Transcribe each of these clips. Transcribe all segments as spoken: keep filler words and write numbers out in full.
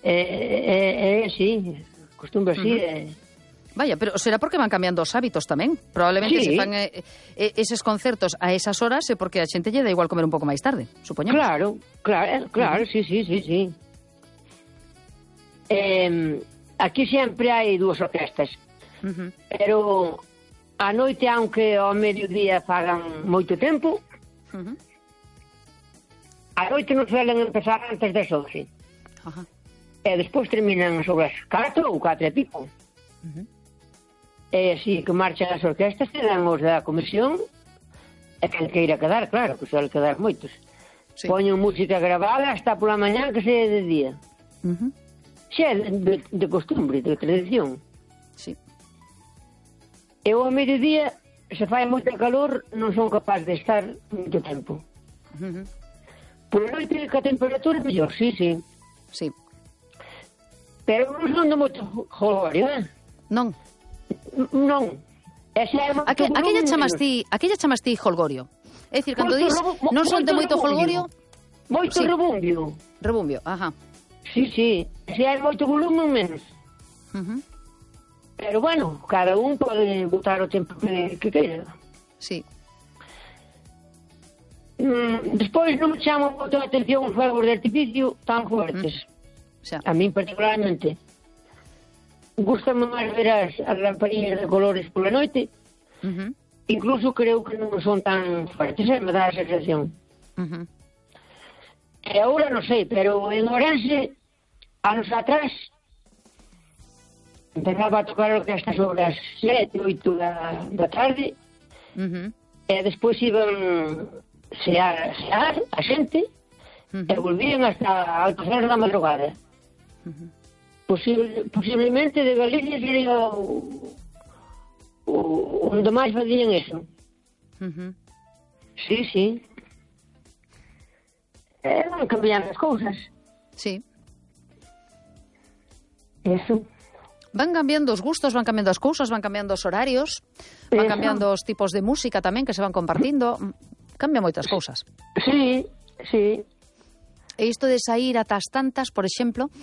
É, é, sí, costumbre así. Uh -huh. é... Vaya, pero será porque van cambiando os hábitos tamén. Probablemente sí. se fan eh, eh, eses concertos a esas horas é porque a xente lle dá igual comer un pouco máis tarde, supoñemos. Claro, claro, claro, uh -huh. sí, sí, sí, sí. Eh, aquí sempre hai dúas orquestas, uh -huh. pero a noite, aunque ao mediodía fagan moito tempo, uh -huh. a noite non suelen empezar antes das once. Uh -huh. E despois terminan sobre as catro ou catro e pico. Uh -huh. E así que marchan as orquestas, quedan os da comisión, e quen queira quedar, claro, que suele quedar moitos. Sí. Poñen música grabada hasta pola mañá que se é de día. Uh -huh. Xa é de, de costumbre, de tradición. Sí. E ao mediodía, se fai moito calor, non son capaz de estar moito tempo. Uh -huh. Por noite, que a temperatura é mellor, sí, sí. Sí. Pero non son de moito jolgorio, eh? Non. Non. Aque, aquella chamas ti, aquella chamas ti holgorio. É dicir, cando dis non son de moito holgorio, moito sí. rebumbio. Rebumbio, ajá. Sí, sí. Se hai moito volumen menos. Uh -huh. Pero bueno, cada un pode botar o tempo que, que queira. Sí. Mm, despois non me chamo moito a atención os fuegos de artificio tan fuertes. Uh -huh. A min particularmente. Gústame máis ver as, as lamparillas de colores pola noite. Uh -huh. Incluso creo que non son tan fuertes, eh? Me dá a sensación. Uh -huh. E agora non sei, pero en Ourense, anos atrás, empezaba a tocar a orquesta sobre as sete, oito da, da tarde, uh -huh. e despois iban sear, sear a xente, uh -huh. e volvían hasta altas horas da madrugada. Uh -huh. Posible, posiblemente de Galicia sería o, o, onde máis facían eso. Uh -huh. Sí, sí. Eh, van cambiando as cousas. Sí. Eso. Van cambiando os gustos, van cambiando as cousas, van cambiando os horarios, van eso. Cambiando os tipos de música tamén que se van compartindo. Cambia moitas cousas. Sí, sí. E isto de sair atas tantas, por exemplo,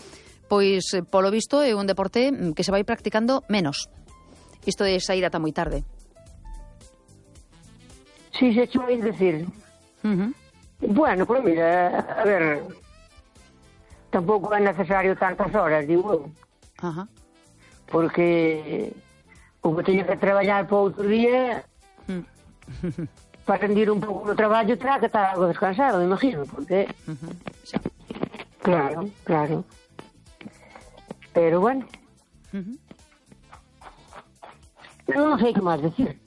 pois, polo visto, é un deporte que se vai practicando menos. Isto de sair ata moi tarde. Sí, se cho vais decir. Uh -huh. Bueno, pues mira, a ver, tampouco é necesario tantas horas, digo eu. Uh -huh. Porque o que teño que traballar para outro día, uh -huh. para rendir un pouco no traballo, terá que estar algo descansado, me imagino, porque... Uh -huh. Sí. Claro, claro. Pero bueno, uh -huh. non sei que máis decir.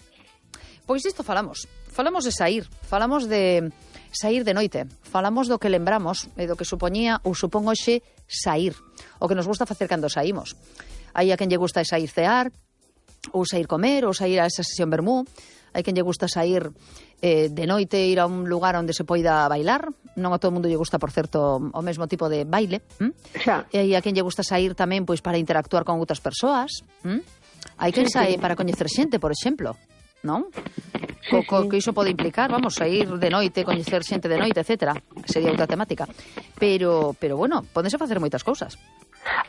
Pois isto falamos. Falamos de sair. Falamos de sair de noite. Falamos do que lembramos e do que supoñía ou supón hoxe sair. O que nos gusta facer cando saímos. Hai a quen lle gusta sair cear, ou sair comer, ou sair a esa sesión vermú. Hai quen lle gusta sair eh, de noite, ir a un lugar onde se poida bailar. Non a todo mundo lle gusta, por certo, o mesmo tipo de baile. ¿Mm? Xa. E hai a quen lle gusta sair tamén pois para interactuar con outras persoas. ¿Mm? Hai quen sae para coñecer xente, por exemplo, non? Sí, co, co, sí. que iso pode implicar, vamos, sair de noite, coñecer xente de noite, etcétera. Sería outra temática. Pero, pero bueno, pódense facer moitas cousas.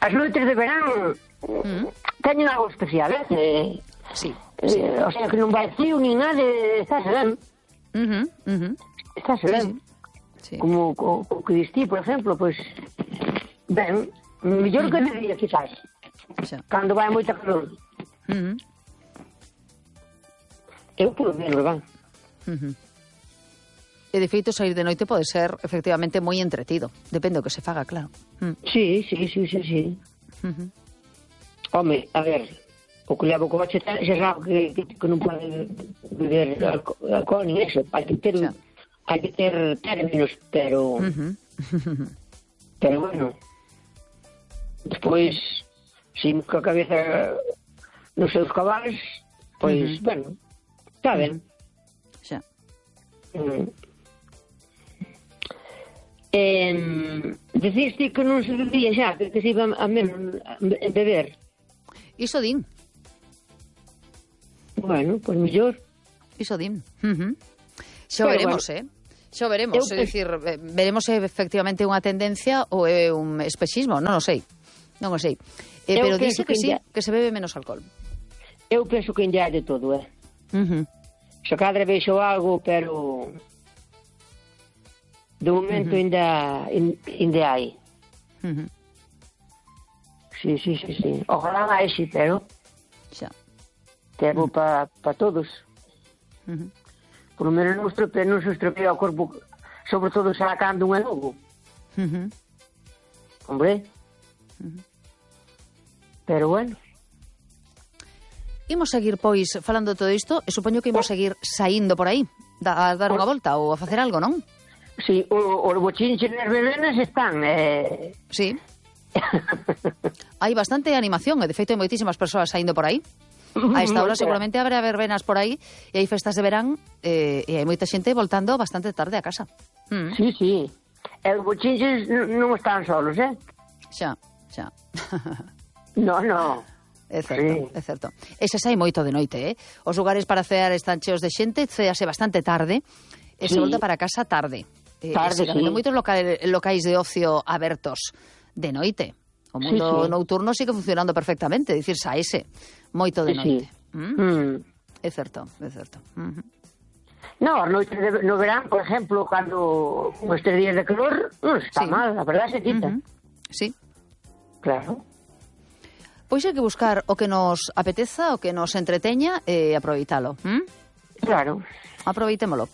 As noites de verán mm. teñen algo especial, eh? Sí, eh, sí. O sea, que non vai frío nin nada, está serán. Uh -huh, uh -huh. Está serán. Sí, sí. Como o, o que distí, por exemplo, pois, pues, ben, mellor uh -huh. que de día, quizás. Xa. Cando vai moita calor. Uh -huh. Eu polo menos, van. Uh -huh. E de feito, sair de noite pode ser efectivamente moi entretido. Depende do que se faga, claro. Mm. Sí, sí, sí, sí, sí. Uh -huh. Home, a ver, o que levo o coche xa sabe que, que, que non pode beber alcohol, alcohol ni eso. Hai que ter, sí. hai que ter términos, pero... Uh -huh. Pero bueno, despois, si co a cabeza nos seus cabales, pois, uh -huh. bueno, está ben. Xa. Mm. Eh, deciste que non se bebía xa, que, que se iba a menos a beber. Iso din. Bueno, pois pues mellor. Iso din. Uh -huh. Xa veremos, bueno. eh? Xo veremos, Eu é dicir, veremos se efectivamente unha tendencia ou é un espexismo, non o sei. Non o sei. Eh, pero dice que, que sí, ya... que se bebe menos alcohol. Eu penso que ainda hai de todo, eh? Uh -huh. Se cadra vexo algo, pero de momento uh -huh. ainda, ainda hai. Uh -huh. Sí, sí, sí, sí. Ojalá máis, sí, pero xa. Tempo uh -huh. para pa todos. Uh -huh. Por lo menos non estropea, non se estropea o corpo, sobre todo sacando un enogo. Uh -huh. Hombre. Uh -huh. Pero bueno. Imos seguir, pois, falando de todo isto, e supoño que imos seguir saindo por aí, da, a dar unha volta ou a facer algo, non? Sí, os bochinches nas verbenas están, eh... Sí. Hai bastante animación, e de feito hai moitísimas persoas saindo por aí. A esta hora seguramente habrá verbenas por aí, e hai festas de verán, eh, e hai moita xente voltando bastante tarde a casa. Mm. Sí, sí. E os bochinches non están solos, eh? Xa, xa. No, no. É certo, sí. É certo. Ese sai moito de noite, eh? Os lugares para cear están cheos de xente, cease bastante tarde, e sí. Se volta para casa tarde. Tarde, eh, sí. Hai moitos locais, locais de ocio abertos de noite. O mundo sí, sí. nocturno sigue funcionando perfectamente, dicir, saese moito de noite. Sí. ¿Mm? Mm. É certo, é certo. Uh -huh. No, a noite de, no verán, por exemplo, cando estes días de calor, non está sí. mal, a verdade se quita. Uh -huh. Sí. Claro. Pois hai que buscar o que nos apeteza, o que nos entreteña e aproveitalo. ¿Mm? Claro. Aproveitémolo.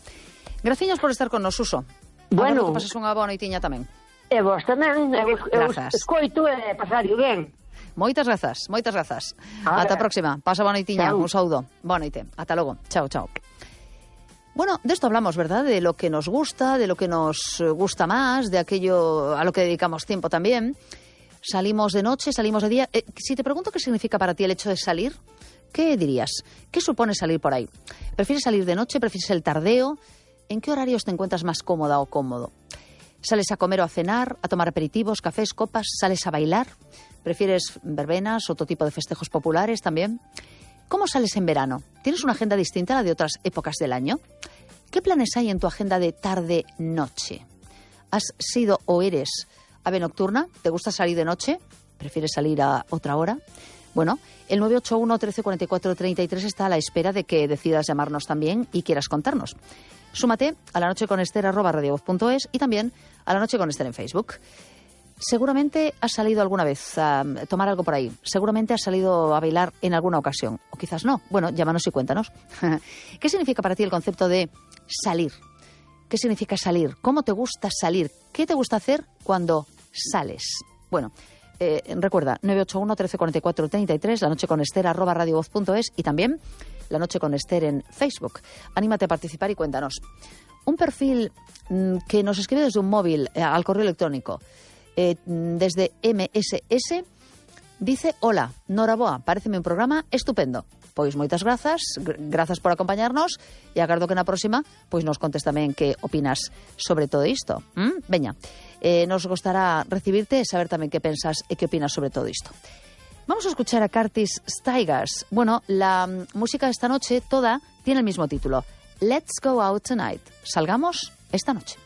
Graciñas por estar con nos, Suso. Bueno. Que pases unha boa noitiña tamén. E vos tamén. Eu, eu escoito e pasario ben. Moitas grazas, moitas grazas. Ahora. Ata a próxima. Pasa boa noitiña. Chao. Un saúdo. Boa noite. Ata logo. Chao, chao. Bueno, de esto hablamos, ¿verdad? De lo que nos gusta, de lo que nos gusta más, de aquello a lo que dedicamos tiempo también. Salimos de noche, salimos de día. Eh, si te pregunto qué significa para ti el hecho de salir, ¿qué dirías? ¿Qué supone salir por ahí? ¿Prefieres salir de noche? ¿Prefieres el tardeo? ¿En qué horarios te encuentras más cómoda o cómodo? ¿Sales a comer o a cenar, a tomar aperitivos, cafés, copas? ¿Sales a bailar? ¿Prefieres verbenas, otro tipo de festejos populares también? ¿Cómo sales en verano? ¿Tienes una agenda distinta a la de otras épocas del año? ¿Qué planes hay en tu agenda de tarde-noche? ¿Has sido o eres ave nocturna? ¿Te gusta salir de noche? ¿Prefieres salir a otra hora? Bueno, el nueve ocho uno, trece cuarenta y cuatro, treinta y tres está a la espera de que decidas llamarnos también y quieras contarnos. Súmate a La Noche con Ester arroba radiovoz punto es y también a La Noche con Ester en Facebook. Seguramente has salido alguna vez a tomar algo por ahí. Seguramente has salido a bailar en alguna ocasión. O quizás no. Bueno, llámanos y cuéntanos. ¿Qué significa para ti el concepto de salir? ¿Qué significa salir? ¿Cómo te gusta salir? ¿Qué te gusta hacer cuando sales? Bueno, eh, recuerda, nueve ocho uno, trece cuarenta y cuatro, treinta y tres, La Noche con Ester arroba radiovoz punto es y también La Noche con Ester en Facebook. Anímate a participar y cuéntanos. Un perfil mmm, que nos escribe desde un móvil eh, al correo electrónico, eh, desde eme ese ese, dice: hola, Noraboa, paréceme un programa estupendo. Pois moitas grazas, grazas por acompañarnos e agardo que na próxima pois nos contes tamén que opinas sobre todo isto. ¿Mm? Veña, eh, nos gostará recibirte e saber tamén que pensas e que opinas sobre todo isto. Vamos a escuchar a Curtis Stigers. Bueno, la música de esta noche toda tiene el mismo título. Let's go out tonight. Salgamos esta noche.